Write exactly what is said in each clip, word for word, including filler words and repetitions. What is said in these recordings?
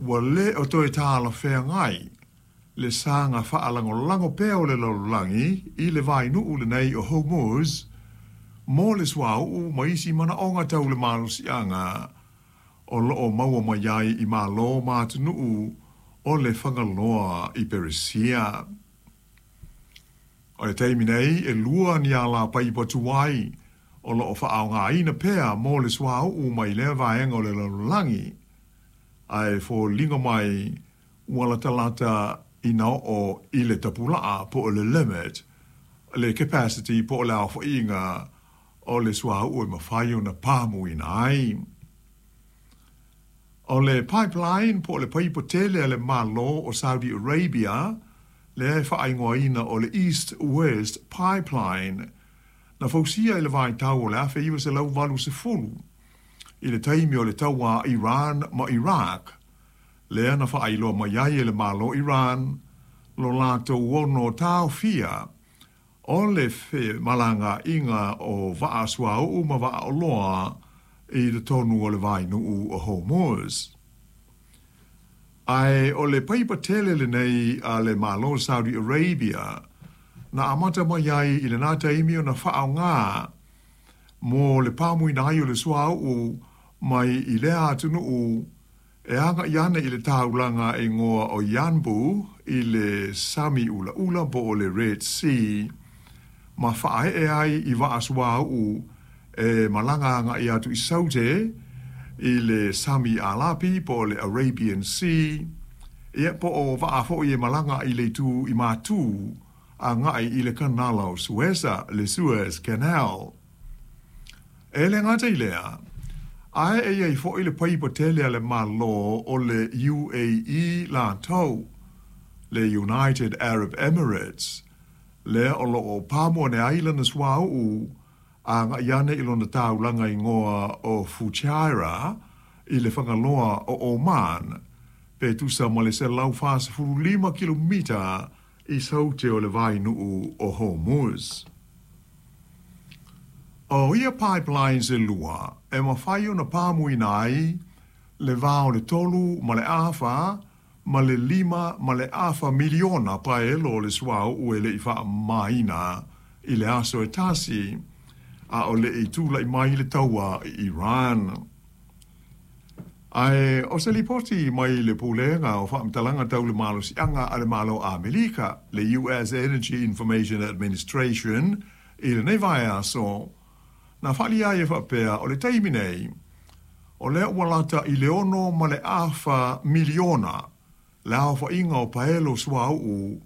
Ua lē o toe talafeagai le saga faalagolago pea o le lalolagi i le vainuu lenei o Hormuz mo le suauu ma isi manaoga tau le malosiaga o loo maua mai ai i Malo ma atunuu o le Fagaloa i Peresia. O le taimi nei e lua ni alapaipa tuai o loo faaaogaina pea mo le suauu mai lea vaega o le lalolagi, ae foliga mai ua latalata ina oo i le tapulaa po o le limit, le capacity po o le aofaiga o le suauu e mafai ona pamuina ai. O le pipeline po o le paipa tele a le Malo o Saudi Arabia, lea e faaigoaina o le East West Pipeline, na fausia i le vaitau o le afe iva selau valu sefulu i le taimi o le taua a Iran ma Iraq, lea na faailoa mai ai e le Malo Iran lo latou ono taofia o le femalagaaiga o vaa suauu ma vaa oloa i totonu o le vainuu o Hormuz. Ae o le paipa tele lenei a le Malo Saudi Arabia na amata mai ai i lena taimi ona faaaoga mo le pamuina ai o le suauu mai i lea atunuu e agai ane i le taulaga e igoa o Yanbu i le Sami Ulaula po o le Red Sea, ma faaee ai i vaa suauu e malaga agai atu i Saute i le Sami Alapi po o le Arabian Sea, ia po o vaa foi e malaga i le itu i Matu agai i le Kanala o Suesa, le Suez Canal. E le gata i lea, ae e i ai foi le paipa tele a le Malo o le U A E latou, le United Arab Emirates, lea o loo pamu ane ai lana suauu agai ane i lona taulaga igoa o Fujairah i le Fagaloa o Oman, pe tusa ma le selau fasefulu lima kilomita i saute o le vainuu o Hormuz. O ia pipelines e lua e mafai ona pamuina ai le va o le tolu ma le afa ma le lima ma le afa miliona paelo o le suauu e lei faamamaina i le aso e tasi, a o lei tulai mai le taua i Iran. Ae o se lipoti mai le Pulega o Faamatalaga Tau le Malosiaga a le Malo Amerika, le U S Energy Information Administration, i lenei vaiaso, na faaalia ai e faapea o le taimi nei, o lea ua lata i le ono ma le afa miliona le aofaiga o paelo suauu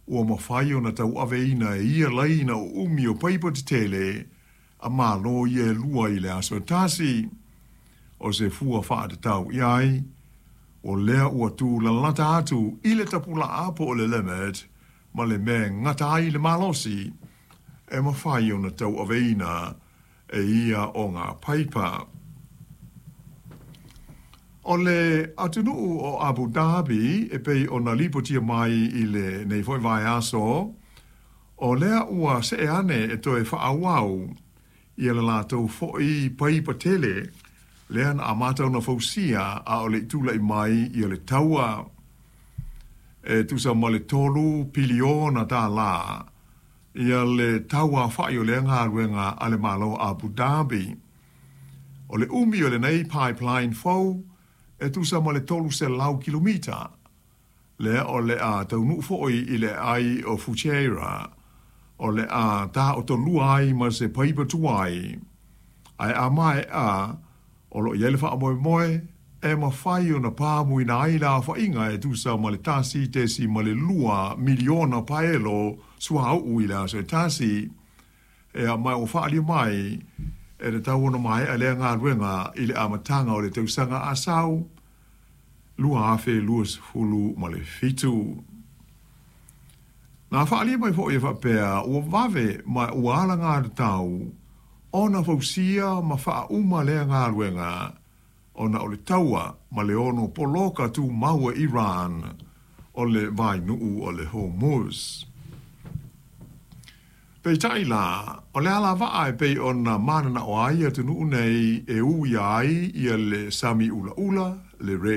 ua mafai ona tauaveina e ia laina o umi o paipa tetele a Malo ia e lua i le aso e tasi. O se fua faatatau i ai, o lea ua tūlalata atu i le tapulaa po o le limit ma le mea e gata ai le malosi e mafai ona tauaveina e ia o ngā paipa. O le atunuu o Abu Dhabi e pei ona lipotia mai i lenei foi vaiaso, o lea ua see ane e toe faaauau ia le latou foi paipa tele lea na amata ona fausia a o le tulai mai ia le taua e tusa ma le tolu piliona tālā ia le taua whai o le galuega a le Malo Abu Dhabi. O le umi o lenei pipeline fou e tusa ma le tolu selau kilomita, lea o le a taunuu foi i le ai o Fujairah, o le a taotolua ai ma se paipa tuai, ae a maea o loo i ai le faamoemoe e mafai ona pamuina ai le aofaiga e tusa ma le tasi tesi ma le lua miliona paelo suauu i le aso e tasi, e a mai o faalia mai e tatau ona maea lea galuega i le amataga o le tausaga asau lua afe luasefulu ma le fitu. Na faalia mai foi e faapea ua vave ma ua alagatatau ona fausia ma faauma lea galuega ona o le taua ma le ono poloka tumau e Iran o le vainuu o le Hormuz. Peitai la, o le alavaa e pei ona mananao ai atunuu nei e ui ai ia le Sami Ulaula, le Red